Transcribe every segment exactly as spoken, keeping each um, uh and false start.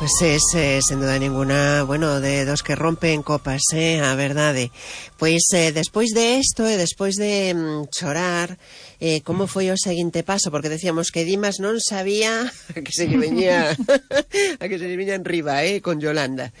Pues es, eh, sen duda ninguna, bueno, de dos que rompen copas, eh, a verdade. Pois, eh, despois de isto e despois de mm, chorar, eh, como foi o seguinte paso? Porque decíamos que Dimas non sabía a que se lle veñía a que se lle veña en riba, eh, con Yolanda.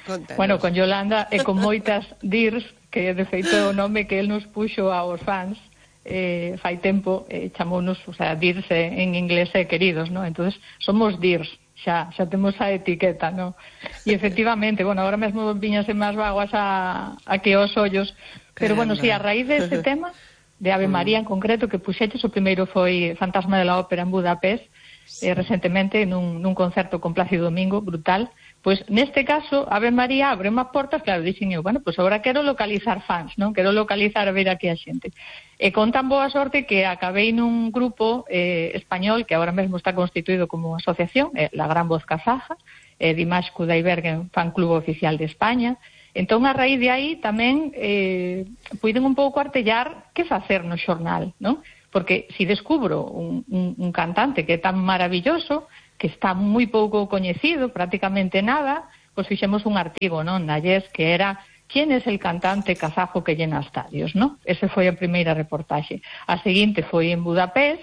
Contanos. Bueno, con Yolanda e con moitas dirs, que de feito o nome que el nos puxo aos fans, eh, fai tempo, eh, chamounos, o sea, dirs en inglés e queridos, ¿no? Entonces, somos dirs. Xa, xa temos a etiqueta, ¿no? E efectivamente, bueno, agora mesmo viñase máis vaguas a, a que os ollos, pero bueno, si, sí, a raíz deste tema de Ave María en concreto, que puxeches, o primeiro foi Fantasma de la Ópera en Budapest, sí. eh, recentemente nun, nun concerto con Plácido Domingo, brutal. Pois neste caso, Ave María abre unhas portas, claro, dixen eu, bueno, pois agora quero localizar fans, non? Quero localizar a ver aquí a xente. E con tan boa sorte que acabei nun grupo eh, español que agora mesmo está constituído como asociación, eh, La Gran Voz Kazaja, eh, Dimash Kudaibergen, fan club oficial de España. Entón, a raíz de aí tamén eh, puiden un pouco artellar que facer no xornal, non? Porque si descubro un, un, un cantante que é tan maravilloso, que está moi pouco coñecido, prácticamente nada, pois fixemos un artigo, non, na Yes, que era ¿quién es el cantante kazajo que llena estadios, non? Ese foi a primeira reportaxe. A seguinte foi en Budapest,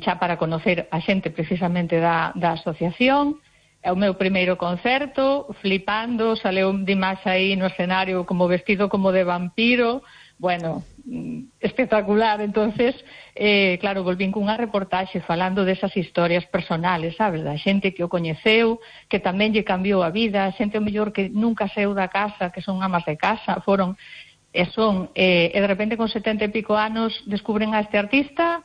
xa para conocer a xente precisamente da, da asociación. É o meu primeiro concerto, flipando, saleu Dimash aí no escenario como vestido como de vampiro, bueno, espectacular. Entonces, eh, claro, volvín cunha reportaxe falando desas historias personales, sabes, da xente que o coñeceu, que tamén lle cambiou a vida, xente o mellor que nunca saiu da casa, que son amas de casa, foron e son, eh, e de repente con setenta e pico anos descubren a este artista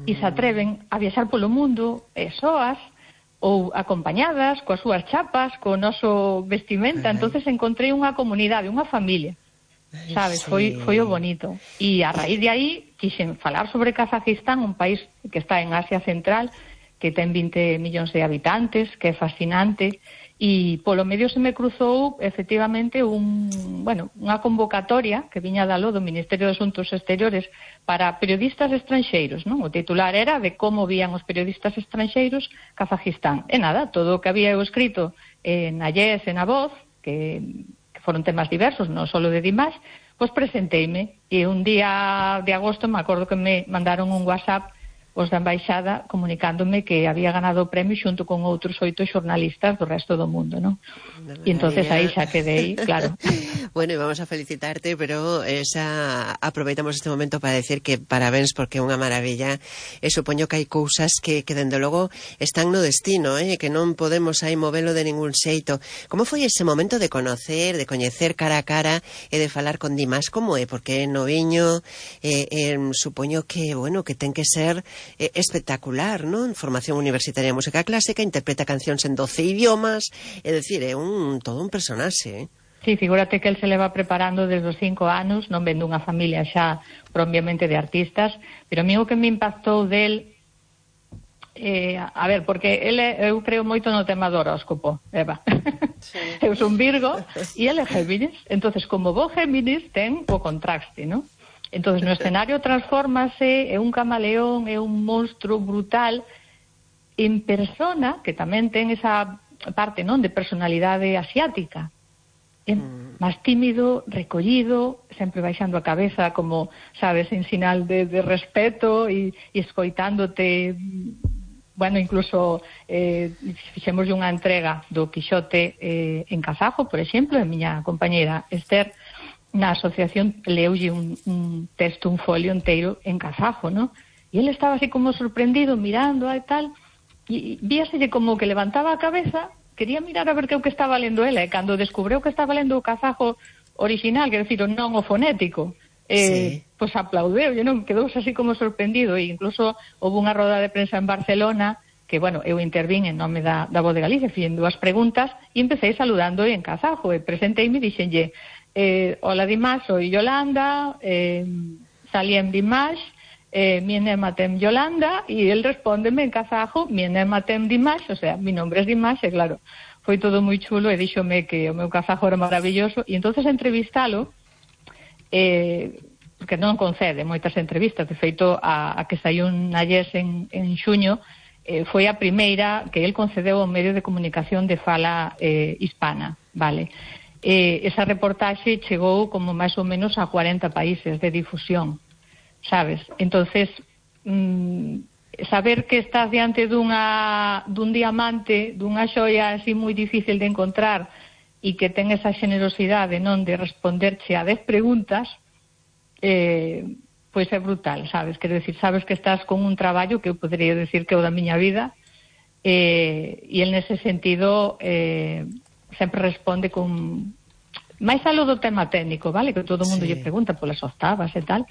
e se atreven a viaxar polo mundo, e soas, ou acompañadas, coas súas chapas, co noso vestimenta. Entonces encontrei unha comunidade, unha familia, sabes, sí. foi, foi o bonito. E a raíz de aí quixen falar sobre Kazajistán, un país que está en Asia Central, que ten vinte millóns de habitantes, que é fascinante, e polo medio se me cruzou efectivamente un, bueno, unha convocatoria que viña dalo do Ministerio de Asuntos Exteriores para periodistas estranxeiros, non? O titular era de como vían os periodistas estranxeiros Kazajistán. E nada, todo o que había eu escrito en a Yes, en a Voz, que foron temas diversos, non só de Dimash, pois presenteime, e un día de agosto me acordo que me mandaron un WhatsApp os da embaixada comunicándome que había ganado o premio xunto con outros oito xornalistas do resto do mundo, non? E entonces aí xa quedei, claro. Bueno, e vamos a felicitarte, pero esa aproveitamos este momento para decir que parabéns porque é unha maravilla, e supoño que hai cousas que, que dende logo están no destino, eh? Que non podemos aí movelo de ningún xeito. Como foi ese momento de conocer, de coñecer cara a cara e de falar con Dimash? Como é? Porque é noviño, eh, eh, supoño que, bueno, que ten que ser Eh, espectacular, non? Formación universitaria de música clásica, interpreta cancións en doce idiomas, é dicir, é un todo un personaxe, eh? Sí, figúrate que el se leva preparando desde os cinco anos, non vendo unha familia xa propiamente de artistas, pero a mí o que me impactou del, eh, a ver, porque ele, eu creo moito no tema do horóscopo, Eva. Sí. Eu son Virgo e ele é Géminis, entonces como bo Géminis ten o contraste, non? Entonces, no escenario transfórmase, é un camaleón, é un monstro brutal, en persona, que tamén ten esa parte, non, de personalidade asiática. É mm. máis tímido, recollido, sempre baixando a cabeza, como, sabes, en sinal de, de respeto, e, e escoitándote, bueno, incluso eh, fixemos unha entrega do Quixote eh, en kazajo, por exemplo, a miña compañeira Esther, na asociación leulle un, un texto, un folio inteiro en kazajo, ¿no? E ele estaba así como sorprendido, mirando e tal, e víaselle como que levantaba a cabeza, quería mirar a ver que o que estaba lendo ela, e cando descubreu que estaba lendo o kazajo original, que decir, o non o fonético, eh, sí. Pois aplaudeu, e non quedou así como sorprendido, e incluso houve unha roda de prensa en Barcelona, que, bueno, eu intervín en nome da, da Voz de Galicia, fixen dúas preguntas, e empecé saludando en kazajo, e presenteime e dixenlle, Eh, hola Dimash, soy Yolanda, eh, salí en Dimash, eh, mi enema tem Yolanda, y él respóndeme en kazajo, mi enema tem Dimash, o sea, mi nombre es Dimash, e claro, foi todo moi chulo, e díxome que o meu kazajo era maravilloso, e entonces entrevistalo, eh, porque non concede moitas entrevistas, de feito, a, a que saiu na Yes en, en xuño, eh, foi a primeira que el concedeu ao medio de comunicación de fala eh, hispana, vale? Eh, esa reportaxe chegou como máis ou menos a cuarenta países de difusión, sabes? Entonces, mmm, saber que estás diante dunha, dun diamante, dunha xoia así moi difícil de encontrar e que ten esa generosidade, non, de responderche a dez preguntas, eh, pois é brutal, sabes? Quero decir, sabes que estás con un traballo que eu podería decir que é o da miña vida, eh, e el nese sentido eh, sempre responde con máis algo do tema técnico, vale? Que todo o mundo sí. lle pregunta polas octavas e tal,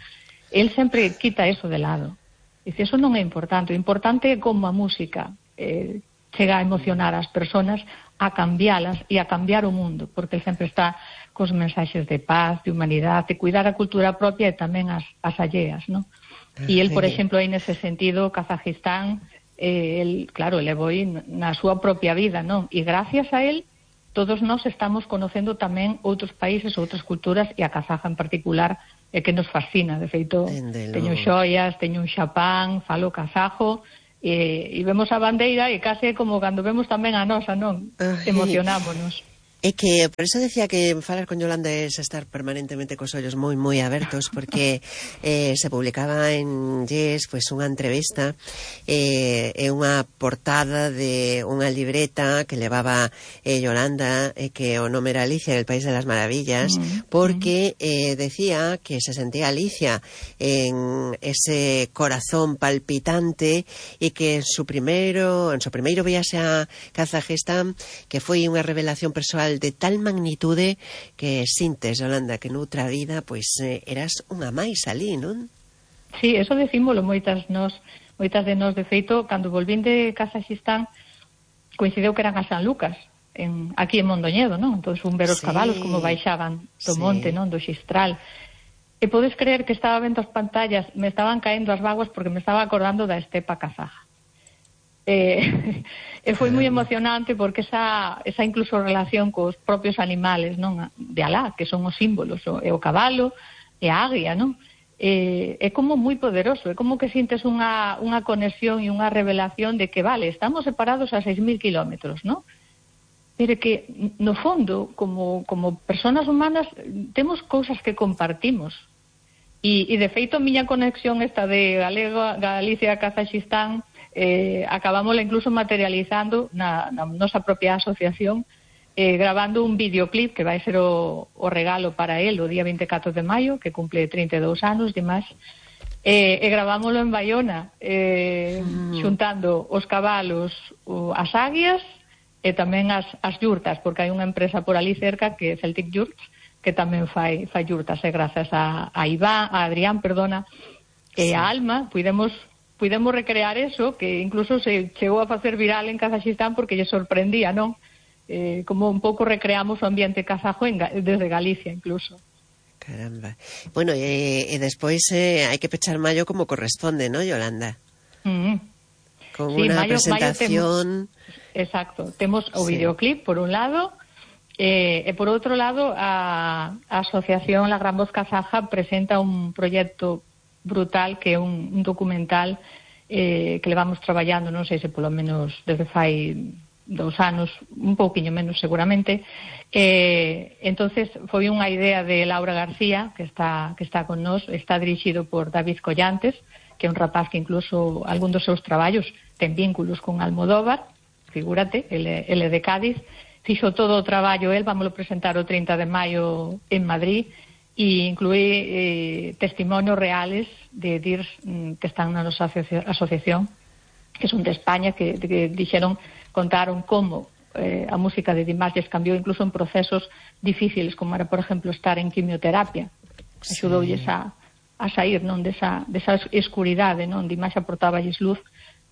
el sempre quita eso de lado. Dice, eso non é importante. O importante é como a música eh, chega a emocionar as persoas, a cambialas e a cambiar o mundo, porque ele sempre está cos mensaxes de paz, de humanidade, de cuidar a cultura propia e tamén as, as alleas, non? E ele, por exemplo, aí nese sentido, Kazajistán, eh, el, claro, levou na súa propia vida, non? E gracias a él, todos nós estamos conocendo tamén outros países, outras culturas, e a kazaja en particular, é que nos fascina. De feito, Entendelo. teño xoias, teño un xapán, falo kazajo, e, e vemos a bandeira e case como cando vemos tamén a nosa, non? Ay. Emocionámonos. É que, por eso decía que falar con Yolanda es estar permanentemente cos ollos moi, moi abertos, porque eh, se publicaba en Yes, pues, unha entrevista e eh, unha portada de unha libreta que levaba eh, Yolanda, eh, que o nome era Alicia en el País de las Maravillas, mm, porque eh, decía que se sentía Alicia en ese corazón palpitante e que en su primeiro, en su primeiro viaxe a Kazajistán, que foi unha revelación persoal de tal magnitude que sintes, Yolanda, que noutra vida pois eh, eras unha máis ali, non? Sí, eso decímolo moitas nos, moitas de nós. De feito, cando volvín de Kazajistán coincideu que eran a San Lucas, en, aquí en Mondoñedo, non? Entón un ver os sí. cabalos como baixaban do sí. monte, non? Do Xistral. E podes creer que estaba vendo as pantallas, me estaban caendo as vaguas porque me estaba acordando da estepa kazaja. Eh, e foi moi emocionante porque esa, esa incluso relación cos propios animales, non, de Alá, que son os símbolos, o, e o cabalo e a águia, non? Eh, é como moi poderoso, é como que sintes unha, unha conexión e unha revelación de que, vale, estamos separados a seis mil kilómetros, non? Pero que, no fondo, como, como personas humanas, temos cousas que compartimos. E, e de feito, a miña conexión esta de Galega, Galicia, Kazajistán, eh, acabámosla incluso materializando na, na nosa propia asociación, eh, grabando un videoclip que vai ser o, o regalo para él o día vinte e catro de maio, que cumple trinta e dous anos de máis, eh, e gravámoslo en Baiona, eh, mm. xuntando os cabalos, o, as águias e tamén as, as yurtas, porque hai unha empresa por ali cerca que é Celtic Yurts, que tamén fai, fai yurtas, e grazas a, a Iván, a Adrián, perdona, e sí. a Alma, puidemos Pudemos recrear eso, que incluso se chegou a facer viral en Kazajistán porque lle sorprendía, non? Eh, como un pouco recreamos o ambiente kazajo en, desde Galicia, incluso. Caramba. Bueno, e, e despois eh, hai que pechar maio como corresponde, ¿no, Yolanda? Mm. Con sí, unha mayo, presentación... Mayo temos, exacto. Temos o sí. videoclip, por un lado, eh, e por outro lado, a, a Asociación La Gran Voz Kazaja presenta un proxecto brutal, que é un, un documental eh, que levamos traballando, non sei se polo menos desde fai dous anos, un pouquiño menos seguramente. Eh, entonces foi unha idea de Laura García, que está que está con nós, está dirixido por David Collantes, que é un rapaz que incluso algún dos seus traballos ten vínculos con Almodóvar, figúrate, ele, ele de Cádiz, fixo todo o traballo el, vámoslo presentar o trinta de maio en Madrid, e inclúe eh, testimonios reales de D I R S mm, que están na nosa asocia asociación, que son de España, que, que dixeron, contaron como eh, a música de Dimas les cambiou incluso en procesos difíciles, como era, por exemplo, estar en quimioterapia. Sí. Axudoulles a, a sair, non, desa, desa escuridade, non? Dimas aportáballes luz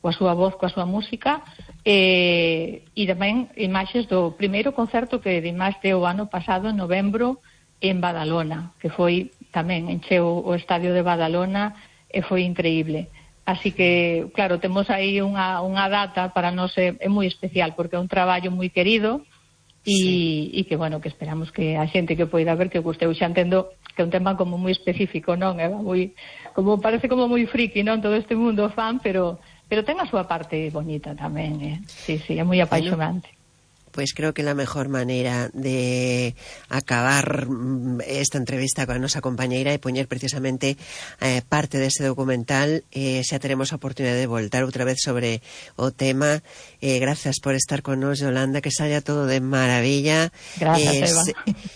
coa súa voz, coa súa música, eh, e tamén imaxes do primeiro concerto que Dimas deu o ano pasado, en novembro, en Badalona, que foi tamén encheu o estadio de Badalona e foi increíble. Así que, claro, temos aí unha, unha data para nós é, é moi especial, porque é un traballo moi querido e, sí. e que, bueno, que esperamos que a xente que poida ver que gusteu. Xa entendo que é un tema como moi específico, non? É moi, como, parece como moi friki, non? Todo este mundo fan, pero pero ten a súa parte bonita tamén, eh? Sí, sí, é moi apaixonante. Bueno, pues creo que la mejor manera de acabar esta entrevista con a nosa compañeira é poñer precisamente eh, parte deste documental. Eh, xa teremos a oportunidade de voltar outra vez sobre o tema. Eh, gracias por estar con nos, Yolanda, que saia todo de maravilla. Gracias, eh, Eva. Se,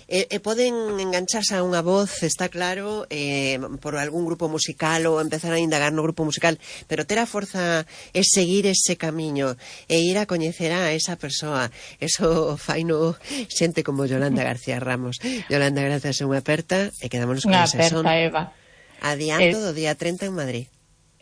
eh, eh, poden engancharse a unha voz, está claro, eh, por algún grupo musical ou empezar a indagar no grupo musical, pero ter a forza é seguir ese camiño e ir a coñecer a esa persoa. Eso faino xente como Yolanda García Ramos. Yolanda, gracias, é unha aperta e quedámonos con ese son. Unha aperta, Eva. Adianto eh, do día treinta en Madrid.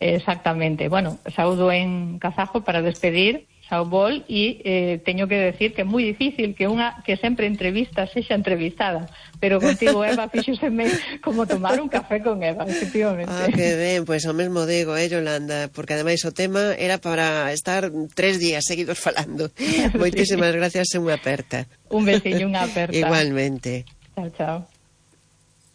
Exactamente. Bueno, saúdo en kazajo para despedir, saúbol, e eh, teño que decir que é moi difícil que unha que sempre entrevista sexa entrevistada, pero contigo, Eva, fíxoseme como tomar un café con Eva, efectivamente. Ah, que ben, pois pues, o mesmo digo, eh, Yolanda, porque ademais o tema era para estar tres días seguidos falando. Moitísimas sí. Gracias e unha aperta. Un besiño, unha aperta. Igualmente. Chao, chao.